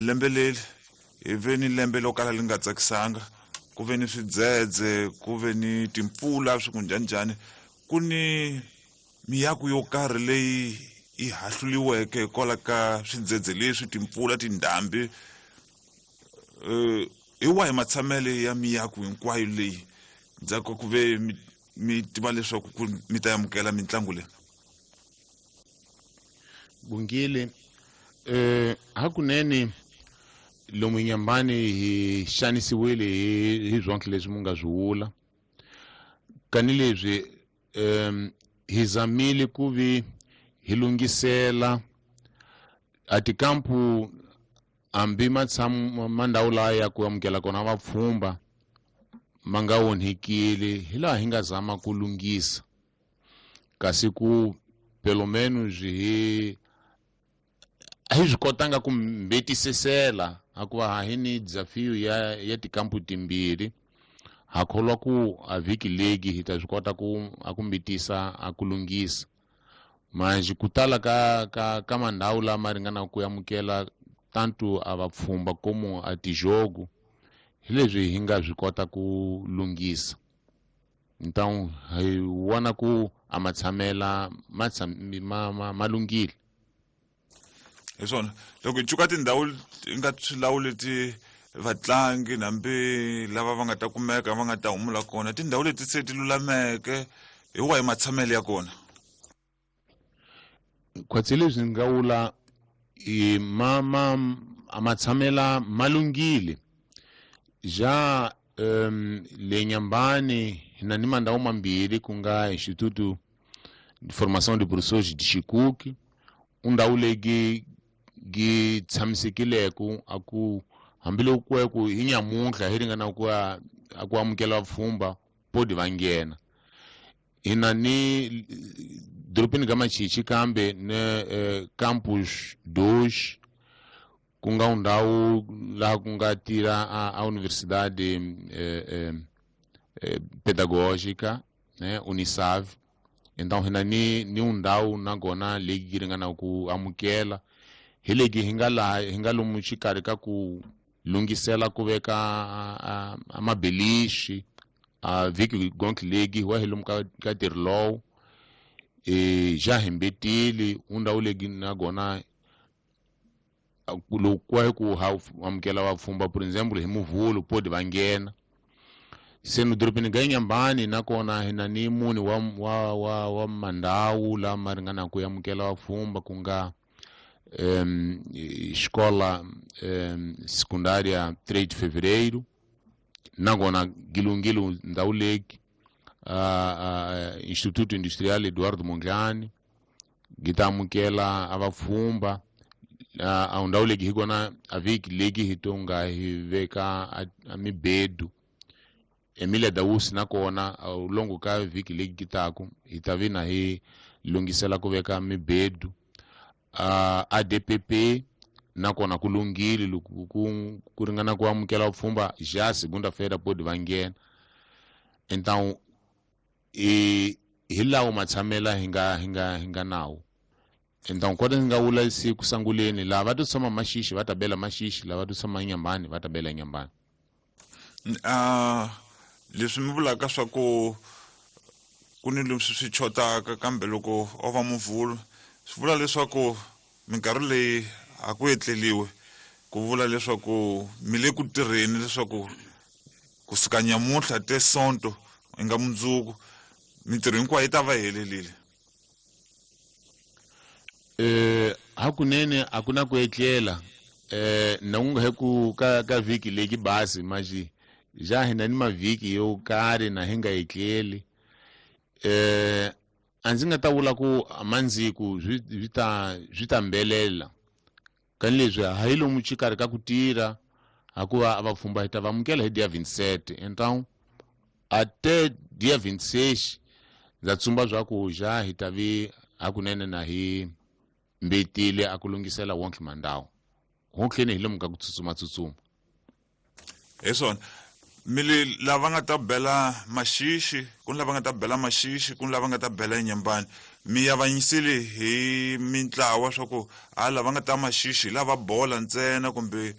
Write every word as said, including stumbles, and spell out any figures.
Lembe leri hi ve ni lembe lo kala li nga tsakisanga, ku ve ni swidzedze, ku ve ni timpfula, swi ku njhaninjhani. Ku ni miako yo karhi leyi yi hahluliweke hikwalaho ka swidzedze leswi, timpfula, tindhambi. uh, hi wahi matshamele ya miako hinkwayo leyi ndzhaku ka ku ve mi, mi tiva leswaku ku mi ta amukela mitlangu leyi? Bungile, eh hakunene lomu Nyambani hi xanisiwile hi hi swonke leswi mu nga swi vula. Kani leswi um hi zamile ku vi hi lunghisela a tikampu hambi matshamu ma ndhawu laha ya ku amukela kona vapfhumba ma nga onhekile, hi laha hi nga zama ku lunghisa, kasi ku pelo menos hi a hi swi kotanga ku mbetisisela, hikuva hi ni desafio ya ya tikampu timbirhi. Ha kholwa ku a vhiki legi hi ta swi kota ku a ku mbitisa a ku lunghisa. Manje ku tala ka ka ka mandhawu lama ringanaka ku amukela tanto a vapfhumba como a tijogo, hi leswi hi nga swi kota ku lunghisa. Então hi vona ku a matshamela ma ma ma ma lunghile. Hi swona, loko hi cuka tindhawu hi nga swilawu leti vatlangi hambi lava va nga ta kumeka va nga ta humula kona, tindhawu leti se ti lulameke, hi wahi matshamelo ya kona? Khwatsi leswi ni nga vula i ma ma a matshamela ma lunghile. Ja um le Nyambani hi na ni mandhawu mambirhi, ku nga Instituto de Formação de Professores de Chicuque, undhawu leyi gi tshamisekileke a ku hambiloko ku ku hi nyamuntlha hi ringana ku a ku amukela vapfhumba podi va nghena. Hi na ni dorobeni ka Machichi kambe ne eh, campus dois, ku nga ndhawu laha ku nga tirha a, a universidade eh, eh, eh, pedagógica, né, Unisav. Então hi na ni ni ndhawu nakona leyi yi ringana ku amukela. Hi legi hi nga laha hi nga lomu xikarhi ka ku lunghisela ku veka a, a mabelixi a vhiki gonke legi wa hi lomu ka ka ntirho lowu. E ja hi mbetile undhawu legi nakona loko ku hi ku ha amukela vapfhumba, por exemple hi Muvhulu podi va nghena. Se no dorobeni ga Nyambani nakona hi na ni mune wa wa wa wa mandhawu lama ringanaka ku amukela vapfhumba, ku nga um, escola um, secundária três de Fevereiro, nakona gilungilo ndhawu legi, uh, uh, Instituto Industrial Eduardo Mondlane gi ta amukela a vapfhumba. A ndhawu legi hi kona a vhiki legi hi to nga hi veka a mibedu. Emilia Dausi nakona longo ka vhiki legi ki taku hi ta vi na hi lunghisela ku veka mibedu. Uh, A D P P nakona ku lunghile loko ku ku ringana ku amukela vapfhumba ja segunda-feira podi va nghena. Então i hi lawo matshamela hi nga hi nga hi nga nawo. Então kota ni nga vula siku sanguleni, lava va to tshama Maxixi va ta bela Maxixi, lava to tshama Nyambani va ta bela Nyambani. Ah, leswi mi vulaka swa ku ku ni leswi swi chotaka, kambe loko o va Muvhulu swi vula leswaku minkarhi leyi a ku etleliwe, ku vula leswaku mi le ku tirheni leswaku kusuka nyamuntlha te Sonto hi nga mundzuku mintirho hinkwayo yi ta va helelile. Eh hakunene a ku na ku etlela. Eh na ku nga he ku ka ka vhiki leki basi maji ja hina ni mavhiki yo karhi na hi nga etleli. Eh a ndzi nga ta vula ku mandziku swi swi ta swi ta mbelela. Kani leswi ha hi lomu xikarhi ka ku tirha, hikuva a vapfhumba hi ta va amukela hi dia vinte e sete. Então até dia vinte e seis ndza tsumba swa ku ja hi ta vi hakunene na hi mbetile a ku lunghisela wonke mandhawu. Honkleni hi lomu ka ku tsutsuma tsutsuma. Hi swona. Mi li lava nga ta bela Maxixi, ku ni lava nga ta bela Maxixi, ku ni lava nga ta bela Inyambani. Mi avanyisile hi mintlawa swa ku a lava nga ta Maxixi hi lava bola ntsena, kumbe